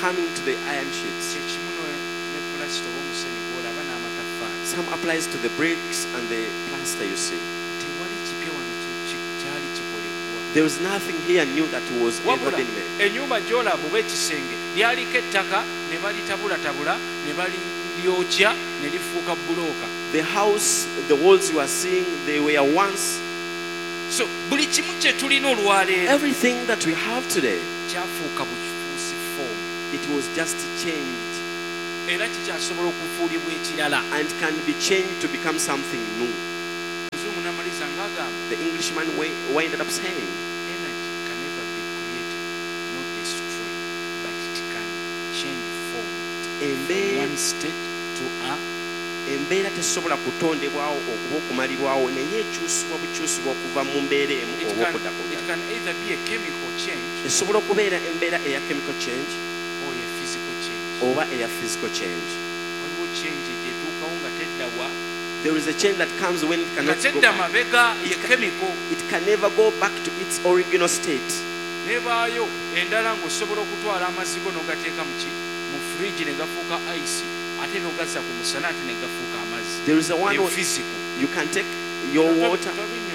coming to the iron sheets. Kyekimu ne pulasita oba omusenyu gw'olaba n'amataffaali. Some applies to the bricks and the plaster you see. Tewali kipya wano kyali kikolebwa. There is nothing here new that was ever Wabula been made. Ennyumba gy'olaba oba ekisenge lyaliko ettaka ne balitabulatabula ne baliryokya ne lifuuka bulooka. The house, the walls you are seeing, they were once So buli kimu kye tulina olwaleero everything that we have today. Kyafuuka bufuusi form. It was just changed Era kikyasobola okufuulibwa ekirala. And can be changed to become something new. Muzungu n'amaliza ng'agamba, The Englishman winded up saying, energy can never be created not destroyed, but it can change form from embeera one state to a embeera tesobola kutondebwawo okuba okumalibwawo naye ekyusibwa bukyusibwa okuva mu mbeera emu it oba can, okudda ku it ndala. Can either be a chemical change Esobola okubeera embeera eya chemical change or a physical change. Oba eya physical change. Waliwo change gyetuukawo nga teddawa There is a change that comes when it nga cannot go tedda back. mabega ye chemical. It can never go back to its original state. Nebaayo endala ng'osobola okutwala amazzi go n'ogateeka muki mu fridge ne gafuuka ice ate n'ogazza ku musana ate ne gafuuka amazzi. There is a one Eyo where physical. You can take your water. Tobinnyonnyola.